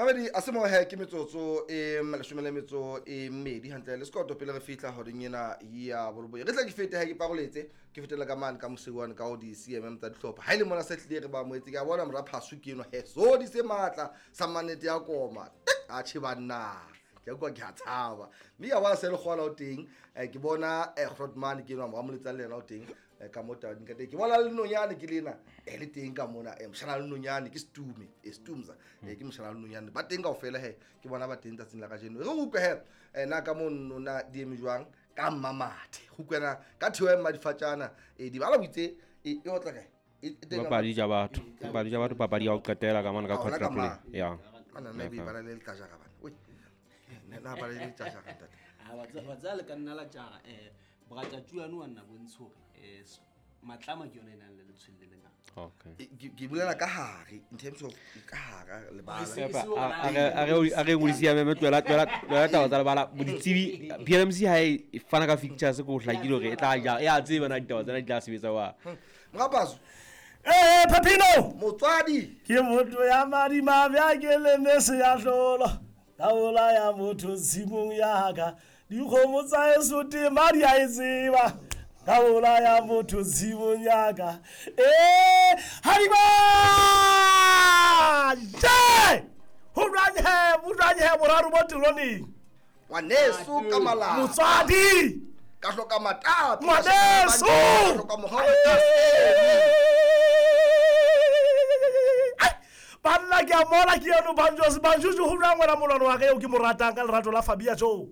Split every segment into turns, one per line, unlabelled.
Mamedi a se mo he ke metsotso e leshome le metso e mmedi hantle le sekoto pele re fihla horeng ena ya boroboye. Re tla ke fete ha ke paroletse ke fetela ka mane ka moseu ka ho di CMM tsa dihlopha. Ha ile mona se tlile re ba moetse ke a bona mora phasu ke eno he so di se matla sa manete ya koma. A che banna. Ke kwa ke a tshaba. Mme ya bona se le kgola o teng ke bona Grootman ke eno mo letsa le yena o teng ka mo tabeng ka teng. Ke bona le nonyane ke lena le teng ka mona moshana le nonyane ke Stume Stumza ke moshana le nonyane ba teng kaofela he ke bona ba teng tsatsing la kajeno. Re utlwe he na ka mo nona di eme jwang ka mmamathe go kwena ka theo ya mmadifatjana di bala boitse e otla kae
papadi ja batho papadi ja batho papadi ya ho qetela ka mona ka quarter play ya
ana nna be bala le letla bana oi nna bala le letla jara ntate
a wa tsaya le ka nna la jara boratatuano wa nna bontsho hore matlama ke yona e nang le letshwele le lengata.
Okay.
Ke bolela ka hare in terms of ka hara lebala.
A re ngodisi ya meme tlohela taba tsa lebala boditsebi PLMC ha e fana ka fixtures ko hlakile hore e tla ja ya tseba na ditaba tsena di tla sebetsa wa.
Morapaso.
Pepino
motswadi
ke motho ya madimabe a ke le mese ya hlolo ka bolaya motho tshimong ya ka dikgomo tsa heso tema di a e tseba ka bolaya motho tshimong ya ka hadiba je ho jwang he boraro bo teroneng
ngwaneso ka malapa
motswadi
ka hloka matapi
ngwaneso
hloka mohau
banna ke a mola ke eno banjos banjojo ho jwang wena molwano wa ka eo ke mo ratang ka lerato la Fabia Jo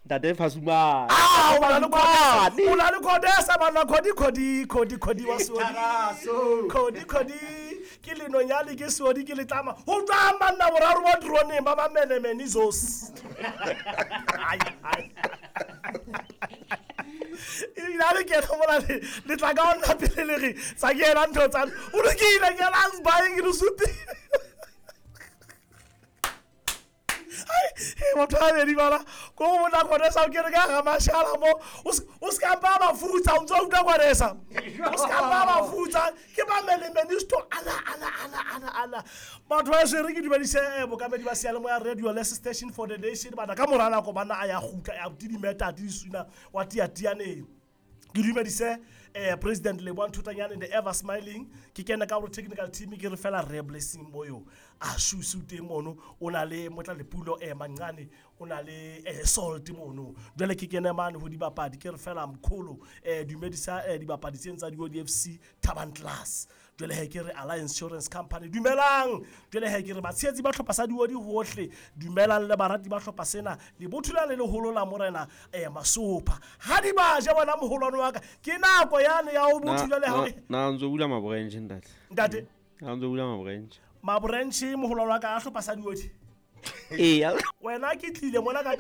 ntate Fasuma
o na le Khodesa banna Khodi Khodi Khodi Khodi wa Sodi Khodi Khodi ke lenonyane ke Sodi ke letlama ho jwang banna boraro ba droneng ba bamenemene zos ebile a le kena mola le tla ka onna pele le re tsa ke ena ntho tsane o lokile ke ena baeng ke le supile motho a bedi bana ko go bona Khodesa o kere ka ga mashala mo o se ka mpa mafutsa o ntse o utlwa Khodesa o se ka mpa mafutsa ke ba melemenisto ala ala ala ala ala batho ba swere ke dumedise bokamedi ba seyalemoya radio less station for the nation bana ka mora nako bana a ya kgutla ya tidimeta tidisuna wa tiatianeng ke dumedise President Leboang Thutanyane the ever smiling ke kena ka gore technical team ke re fela re blessing moyo a shusu teng mono o na le motla lepulo mancane o na le salt mono jwale ke kene mane ho dibapadi ke re fela mkholo dumedisa dibapadi tseng tsa di-ODFC Thaban Class jwale he ke re Alliance Insurance Company dumelang jwale he ke re batshehetsi ba hlopha sa diodi hohle dumelang le barati ba hlopha sena lebotho la le leholo la morena Masopha ha di ba ja bona moholwane wa ka ke nako yane ya o botho jwale ha
na ntso bula mabranch ntate
ntate
na ntso bula mabranch
mabranch moholwane wa ka a hlopha sa diodi
ee
wena ke tlile mona ka